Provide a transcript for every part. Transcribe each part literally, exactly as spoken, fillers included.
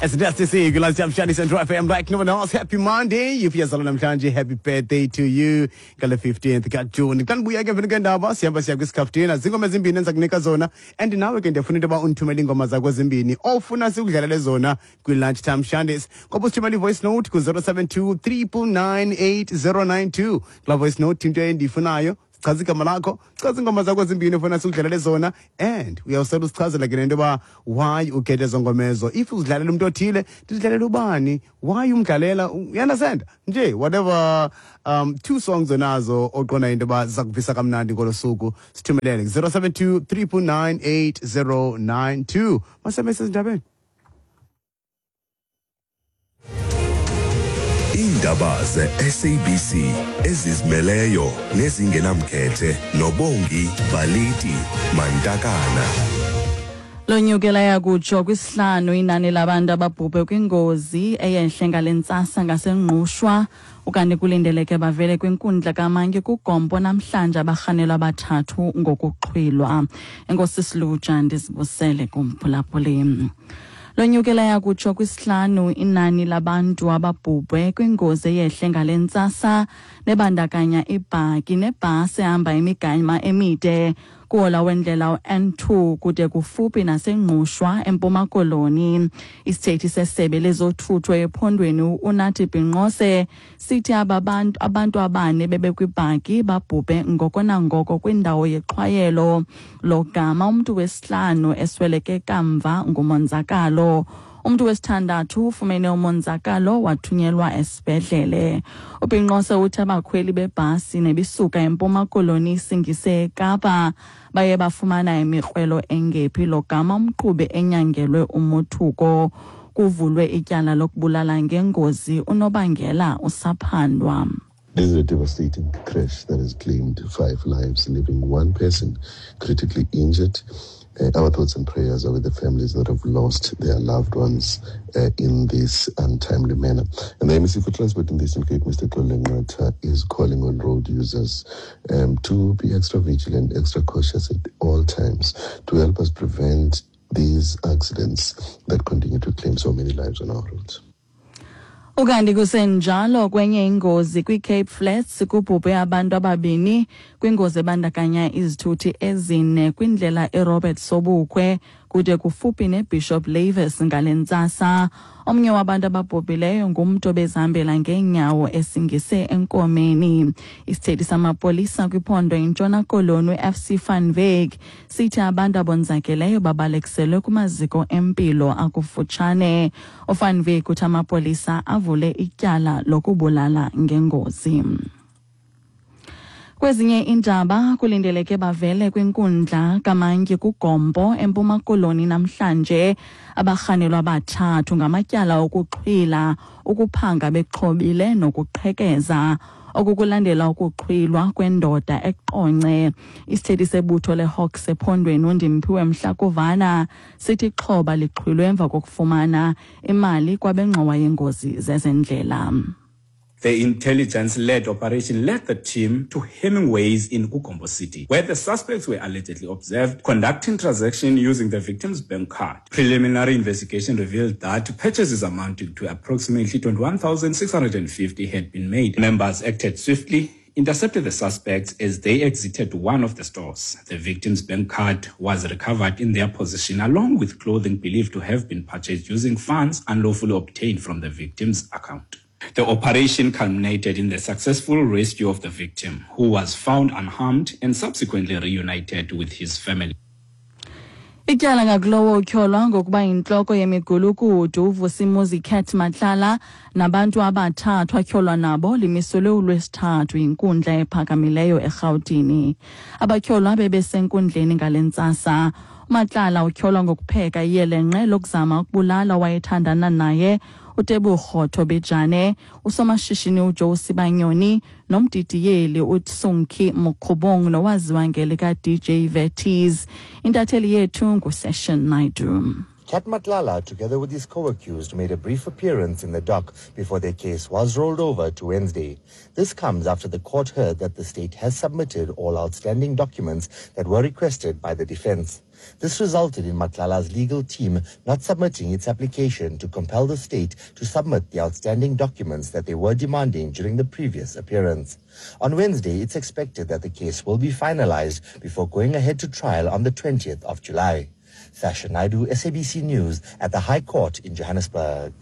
S D C kwi-Lunchtime Shandies and F M like no one else. Happy Monday. If uyazalwa namhlanje, happy birthday to you. Ngale fifteenth kaJuni. Xa ndibuya ke mveni kwendaba, sihamba siya kwisikhafutina. Zingoma ezimbini endiza kunika zona. And nawe ke ndiyafuna into yoba undithumele iingoma zakho ezimbini ofuna sikudlalele zona kwi-Lunchtime Shandies. Ngoba usithumele i-voice note ku-zero seven two nine nine nine eight zero nine two. Kulaa voice note, into endiyifunayo, chaza igama lakho, chaza iingoma zakho ezimbini ofuna sikudlalele zona, and uyawusela usichazela ke nento yoba why ukhethe ezo ngoma ezo. If uzidlalela umntu othile, ndizidlalela ubani, why umdlalela, you understand nje, whatever um two songs onazo oqonda into yoba ziza kuvisa kamnandi ngolo suku, sithumelele zero seven two nine nine nine eight zero nine two. Masebe sezindabeni. Iindaba ze-S A B C ezizimeleyo nezingenamkhethe noBongi Baliti Mantakana. Lonyukela yakutsho kwisihlanu inani labantu ababhubhe kwingozi eyehle ngale ntsasa ngaseNgqushwa. Ukanti kulindeleke bavele kwinkundla kamantyi kuGompo namhlanje abarhanelwa abathathu ngokuxhwilwa. Enkosi Siluja, ndizibusele kumphulaphuli. Lonyukela yakutsho kwisihlanu inani labantu ababhubhe kwingozi eyehle ngale ntsasa nebandakanya ibhaki nebhasi ehamba imigama emide kuhola wendlela u-N two kude kufuphi naseNgqushwa eMpuma Koloni. Isithethi sesebe lezothutho ephondweni uNathi Binqose sithi aba bantu abantu abane bebekwibhaki babhubhe ngoko nangoko kwindawo yexhwayelo, logama umntu wesihlanu esweleke kamva ngumonzakalo. Umntu wesithandathu ufumene umonzakalo wathunyelwa esibhedlele. UBinqose uthi abakhweli bebhasi nebisuka eMpuma Koloni isingise eKapa baye bafumana imikrwelo engephi, logama umqhubi enyangelwe umothuko. Kuvulwe ityala lokubulala ngengozi, unobangela usaphandwa. This is a devastating crash that has claimed five lives, leaving one person critically injured. Uh, our thoughts and prayers are with the families that have lost their loved ones uh, in this untimely manner. And the M E C for Transport in the Eastern Cape, Mister Xolile Nqatha, is calling on road users um, to be extra vigilant, extra cautious at all times to help us prevent these accidents that continue to claim so many lives on our roads. Ukanti kusenjalo, kwenye ingozi kwiCape Flats kubhubhe abantu ababini kwingozi ebandakanya izithuthi ezine kwindlela eRobert Sobukwe kude kufuphi neBishop Lavis ngale ntsasa. Omnye wabantu ababhubhileyo ngumntu obezihambela ngeenyawo esingise enkomeni. Isithethi samapolisa kwiphondo iNtshona Koloni u-F C van Wyk sithi abantu abonzakeleyo babalekiselwe kumaziko empilo akufutshane. UVan Wyk uthi amapolisa avule ityala lokubulala ngengozi. Kwezinye iindaba, kulindeleke bavele kwinkundla kamantyi kuGompo eMpuma Koloni namhlanje abarhanelwa abathathu ngamatyala okuxhwila, ukuphanga bexhobile nokuqhekeza. Oku kulandela ukuxhwilwa kwendoda eQonce. Isithethi sebutho leHawks ephondweni uNdimphiwe Mhlakuvana sithi ixhoba lixhwilwe emva kokufumana imali kwabengxowa yengozi zezendlela. The intelligence-led operation led the team to Hemingways in KuGompo City, where the suspects were allegedly observed conducting transactions using the victim's bank card. Preliminary investigation revealed that purchases amounting to approximately twenty-one thousand six hundred fifty had been made. Members acted swiftly, intercepted the suspects as they exited one of the stores. The victim's bank card was recovered in their possession along with clothing believed to have been purchased using funds unlawfully obtained from the victim's account. The operation culminated in the successful rescue of the victim, who was found unharmed and subsequently reunited with his family. Ityala ngakulowo utyholwa ngokuba yintloko yemigulukudu uVusimuzi Cat Matlala nabantu abathathu atyholwa nabo limiselwe uLwesithathu yinkundla ephakamileyo eRhawutini. Abatyholwa bebesenkundleni ngale ntsasa. UMatlala utyholwa ngokupheka iyelenqe lokuzama ukubulala owayethandana naye uTebogo Thobejane, usomashishini uJoe Sibanyoni nomdidiyeli uTsonki Mokgobong nowaziwa ngelika D J Vettys. Intatheli yethu nguSession Naidu. Cat Matlala, together with his co-accused, made a brief appearance in the dock before their case was rolled over to Wednesday. This comes after the court heard that the state has submitted all outstanding documents that were requested by the defense. This resulted in Matlala's legal team not submitting its application to compel the state to submit the outstanding documents that they were demanding during the previous appearance. On Wednesday, it's expected that the case will be finalized before going ahead to trial on the twentieth of July. Sasha Naidu, S A B C News, at the High Court in Johannesburg.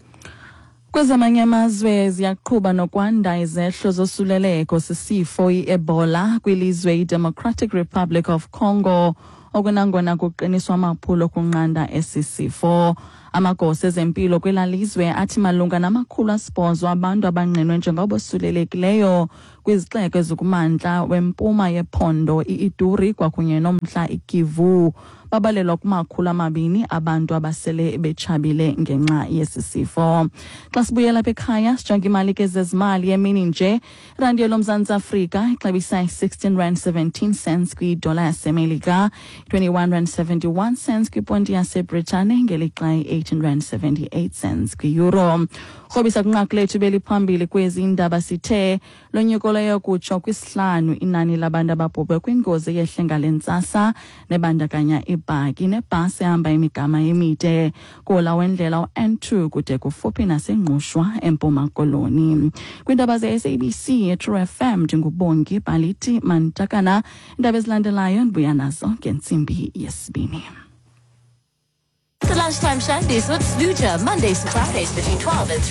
Kwezamanye amazwe, ziyaqhuba nokwanda izehlo zosuleleko sisifo i-Ebola kwilizwe iDemocratic Republic of Congo, okunangona kuqiniswa amaphulo okunqanda esi sifo. Amagosa ezempilo kwela lizwe athi malunga namakhulu asibhozo abantu abangqinwe njengabosulelekileyo kwizixeko ezikumantla wempuma yephondo i-Ituri kwakunye nomntla iKivu. Babalelwa kumakhulu amabini abantu abasele betshabile ngenxa yesi sifo. Xa sibuyela apha ekhaya, sijonge imali ke zezimali emini nje. Irandi yoMzantsi Afrika ixabisa i-sixteen rand seventeen cents kwidola yaseMelika, twenty-one rand seventy-one cents kwiponti yaseBritane, ngelixa i-eighteen rand seventy-eight cents kwi-euro. Rhobisa kwinqaku lethu beliphambili kwezi ndaba, sithe lonyuko leyo kutsho kwisihlanu inani labantu ababhubhe kwingozi eyehle ngale ntsasa nebandakanya ibhaki nebhasi ehamba imigama emide kola wendlela u-N two kude kufuphi naseNgqushwa eMpuma Koloni. Kwiindaba ze-S A B C eTrue F M, ndinguBongi Baliti Mantakana. Iindaba ezilandelayo ndibuya nazo ngentsimbi yesibini. The Lunchtime Shandies with Sluja, Mondays to Fridays between twelve and three.